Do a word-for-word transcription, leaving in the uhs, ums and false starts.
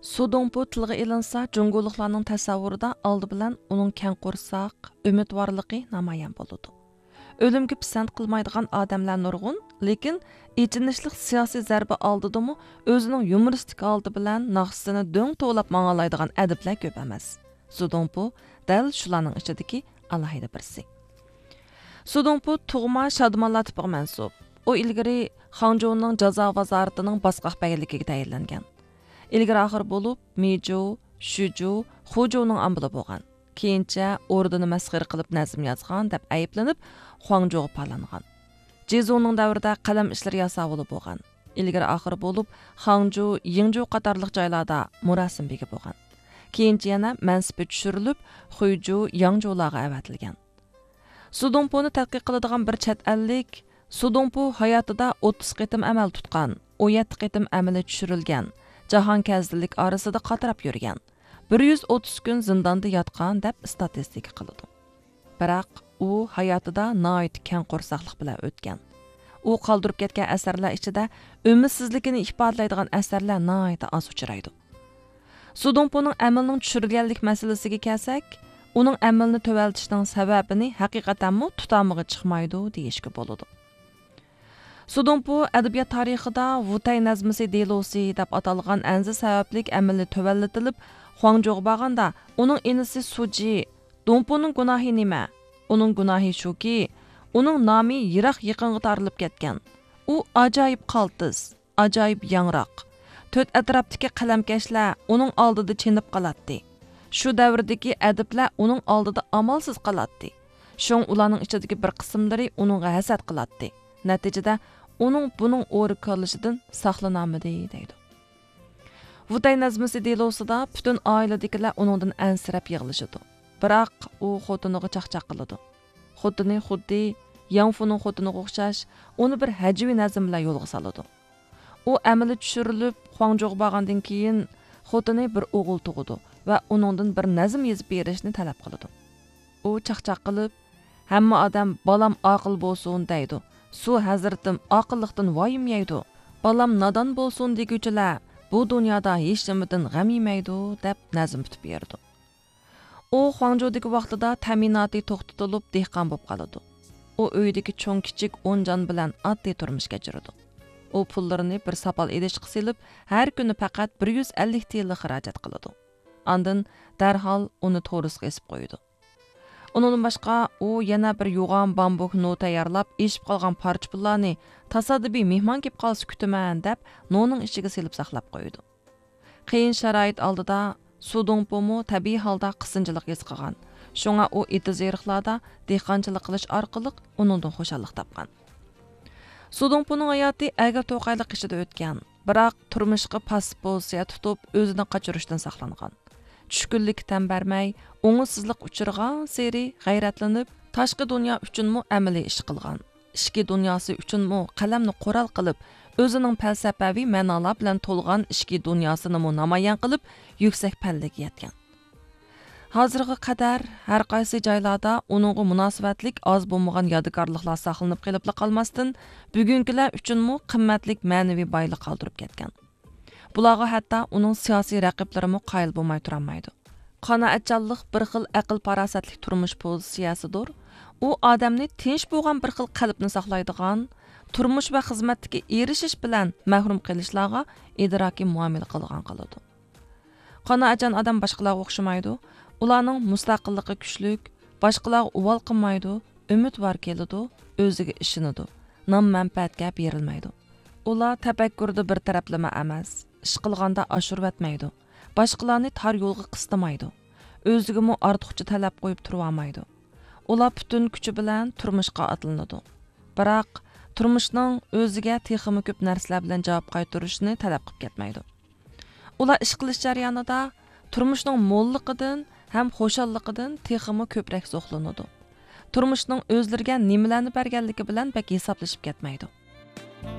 سۇدۇڭپۇ تىلغا ئېلىنسا، جۇڭگولۇقلارنىڭ تەسەۋۋۇرىدا ئالدى بىلەن ئۇنىڭ كەڭ قورساق، ئۈمىدۋارلىقى نامايان بولىدۇ. ئۆلۈمگە پىسەنت قىلمايدىغان ئادەملەر نۇرغۇن، لېكىن ئېچىنىشلىق سىياسىي زەربە ئالدىدىمۇ ئۆزىنىڭ يۇمۇرىستىك ھالىتى بىلەن ناخشىسىنى دۆڭ توۋلاپ ماڭالايدىغان ئەدىبلەر كۆپ ئەمەس. سۇدۇڭپۇ دەل شۇلارنىڭ ئىچىدىكى ئالاھىدە بىرسى. سۇدۇڭپۇ تۇغما شادىمانلار تىپىغا مەنسۇپ. ئۇ ئىلگىرى خاڭجۇنىڭ جازا ۋازارىتىنىڭ باسقاق بەگلىكىگە تەيىنلەنگەن. ئىلگىرى ئاخىر بولۇپ مىجۇ، شۈجۇ، خۇجۇنىڭ ئامبىلى بولغان. كېيىنچە ئوردىنى مەسخىرە قىلىپ نەزم يازغان دەپ ئەيىبلىنىپ، خۇاڭجۇغا پالانغان. جېزۇڭنىڭ دەۋرىدە قەلەم ئىشلىرى ياساۋۇلى بولغان. ئىلگىرى ئاخىر بولۇپ خاڭجۇ، يىڭجۇ قاتارلىق جايلاردا مۇراسىم بېگى بولغان. كېيىنچە يەنە مەنسىپى چۈشۈرۈلۈپ، خۇيجۇ، ياڭجۇلارغا ئەۋەتىلگەن. سۇدۇڭپۇنى تەتقىق قىلىدىغان بىر چەت ئەللىك، سۇدۇڭپۇ ھاياتىدا ئوتتۇز قېتىم ئەمەل تۇتقان، ئون يەتتە قېتىم ئەمىلى چۈشۈرۈلگەن، جاھان كەزدىلىك ئارىسىدا قاتراپ يۈرگەن، بىر يۈز ئوتتۇز كۈن زىنداندا ياتقان دەپ ئىستاتىستىكا قىلىدۇ. بىراق ئۇ ھاياتىدا ناھايىتى كەڭ قورساقلىق بىلەن ئۆتكەن. ئۇ قالدۇرۇپ كەتكەن ئەسەرلەر ئىچىدە ئۈمىدسىزلىكىنى ئىپادىلەيدىغان ئەسەرلەر ناھايىتى ئاز ئۇچرايدۇ. سۇدۇڭپۇنىڭ ئەمىلىنىڭ چۈشۈرۈلگەنلىك مەسىلىسىگە كەلسەك، ئۇنىڭ ئەمىلىنى تۆۋەنلىتىشنىڭ سەۋەبىنى ھەقىقەتەنمۇ تۇتامىغا چىقمايدۇ دېيىشكە بولىدۇ. سۇدۇڭپۇ ئەدەبىيات تارىخىدا ۋۇتەي نەزمىسى دېلوسى دەپ ئاتالغان ئەنزە سەۋەبلىك ئەمىلى تۆۋەنلىتىلىپ، خۇاڭجۇغا بارغاندا، ئۇنىڭ ئىنىسى سۇجى، دۇڭپۇنىڭ گۇناھى نېمە؟ ئۇنىڭ گۇناھى شۇكى، ئۇنىڭ نامى يىراق يېقىنغا تارىلىپ كەتكەن. ئۇ ئاجايىپ قالتىس، ئاجايىپ ياڭراق. تۆت ئەتراپتىكى قەلەمكەشلەر ئۇنىڭ ئالدىدا چېنىپ قالاتتى. شۇ دەۋردىكى ئەدىبلەر ئۇنىڭ ئالدىدا ئامالسىز قالاتتى. شۇڭا ئۇلارنىڭ ئىچىدىكى بىر قىسىملىرى ئۇنىڭغا ھەسەت قىلاتتى. نەتىجىدە ئۇنىڭ بۇنىڭ ئورا كاللىشىدىن ساقلىنالمىدى، دەيدۇ. ۋۇتەي نەزمىسى دېلوسىدا پۈتۈن ئائىلىدىكىلەر ئۇنىڭدىن ئەنسىرەپ يىغلىشىدۇ. بىراق ئۇ خوتۇنىغا چاقچاق قىلىدۇ. خوتۇنى خۇددى ياڭفۇنىڭ خوتۇنىغا ئوخشاش، ئۇنى بىر ھەجۋىي نەزم بىلەن يولغا سالىدۇ. ئۇ ئەمىلى چۈشۈرۈلۈپ، خۇاڭجۇغا بارغاندىن كېيىن، خوتۇنى بىر ئوغۇل تۇغىدۇ ۋە ئۇنىڭدىن بىر نەزم يېزىپ بېرىشنى تەلەپ قىلىدۇ. ئۇ چاقچاق قىلىپ، «ھەممە ئادەم بالام ئاقىل بولسۇن دەيدۇ. سۇ ھەزرىتىم ئاقىللىقتىن ۋايىم يەيدۇ. بالام نادان بولسۇن دېگۈچىلەر بۇ دۇنيادا ھېچنېمىدىن غەم يېمەيدۇ» دەپ نەزم پۈتۈپ بېرىدۇ. ئۇ خۇاڭجۇدىكى ۋاقتىدا تەمىناتى توختىتىلىپ، دېھقان بولۇپ قالىدۇ. ئۇ ئۆيىدىكى چوڭ-كىچىك ئون جان بىلەن ئاددىي تۇرمۇش كەچۈرىدۇ. ئۇ پۇللىرىنى بىر ساپال ئىدىشقا سېلىپ، ھەر كۈنى پەقەت بىر يۈز ئەللىك تىيىنلا خىراجەت قىلىدۇ. ئاندىن دەرھال ئۇنى تورۇسقا ئېسىپ قويىدۇ. ئۇنىڭدىن باشقا، ئۇ يەنە بىر يوغان بامبۇك نو تەييارلاپ، ئېشىپ قالغان پارچە پۇللارنى، تاسادىپىي مېھمان كېلىپ قالسا كۈتىمەن دەپ، نونىڭ ئىچىگە سېلىپ ساقلاپ قويىدۇ. قىيىن شارائىت ئالدىدا سۇدۇڭپۇمۇ تەبىئىي ھالدا قىسىنچىلىق ھېس قىلغان. شۇڭا ئۇ ئېتىز-ئېرىقلاردا دېھقانچىلىق قىلىش ئارقىلىق ئۇنىڭدىن خۇشاللىق تاپقان. سۇدۇڭپۇنىڭ ھاياتى ئەگرى-توقايلىق ئىچىدە ئۆتكەن، بىراق تۇرمۇشقا پاسسىپ پوزىتسىيە تۇتۇپ، ئۆزىنى قاچۇرۇشتىن ساقلانغان. چۈشكۈنلۈككە تەن بەرمەي، ئوڭۇشسىزلىققا ئۇچرىغانسېرى غەيرەتلىنىپ، تاشقى دۇنيا ئۈچۈنمۇ ئەمەلىي ئىش قىلغان. ئىچكى دۇنياسى ئۈچۈنمۇ قەلەمنى قورال قىلىپ، ئۆزىنىڭ پەلسەپەۋى مەنالار بىلەن تولغان ئىچكى دۇنياسىنىمۇ نامايان قىلىپ، يۈكسەك پەللىگە يەتكەن. ھازىرغا قەدەر ھەر قايسى جايلاردا ئۇنىڭغا مۇناسىۋەتلىك ئاز بولمىغان يادىكارلىقلار ساقلىنىپ قېلىپلا قالماستىن، بۈگۈنكىلەر ئۈچۈنمۇ قىممەتلىك مەنىۋى بايلىق قالدۇرۇپ كەتكەن. بۇلارغا ھەتتا ئۇنىڭ سىياسىي رەقىبلىرىمۇ قايىل بولماي تۇرالمايدۇ. قانائەتچانلىق بىر خىل ئەقىل-پاراسەتلىك تۇرمۇش پوزىتسىيەسىدۇر. ئۇ ئادەمنى تىنچ بولغان بىر خىل قەلبنى ساقلايدىغان، تۇرمۇش ۋە خىزمەتتىكى ئېرىشىش بىلەن مەھرۇم قېلىشلارغا ئىدراكىي مۇئامىلە قىلىدىغان قىلىدۇ. قانائەتچان ئادەم باشقىلارغا ئوخشىمايدۇ. ئۇلارنىڭ مۇستەقىللىقى كۈچلۈك، باشقىلارغا ئۇۋال قىلمايدۇ، ئۈمىدۋار كېلىدۇ، ئۆزىگە ئىشىنىدۇ، نام-مەنپەئەتكە بېرىلمەيدۇ. ئۇلار تەپەككۇردا بىر تەرەپلىمە ئەمەس، ئىش قىلغاندا ئاشۇرۇۋەتمەيدۇ، باشقىلارنى تار يولغا قىستىمايدۇ، ئۆزىگىمۇ ئارتۇقچە تەلەپ قويۇپ تۇرۇۋالمايدۇ. ئۇلار پۈتۈن كۈچى بىلەن تۇرمۇشقا ئاتلىنىدۇ. بىراق، تۇرمۇشنىڭ ئۆزىگە تېخىمۇ كۆپ نەرسىلەر بىلەن جاۋاب قايتۇرۇشىنى تەلەپ قىلىپ كەتمەيدۇ. ئۇلار ئىش قىلىش جەريانىدا تۇرمۇشنىڭ موللۇقىدىن ھەم خۇشاللىقىدىن تېخىمۇ كۆپرەك زوقلىنىدۇ. تۇرمۇشنىڭ ئۆزلىرىگە نېمىلەرنى بەرگەنلىكى بىلەن بەك ھېسابلىشىپ كەتمەيدۇ.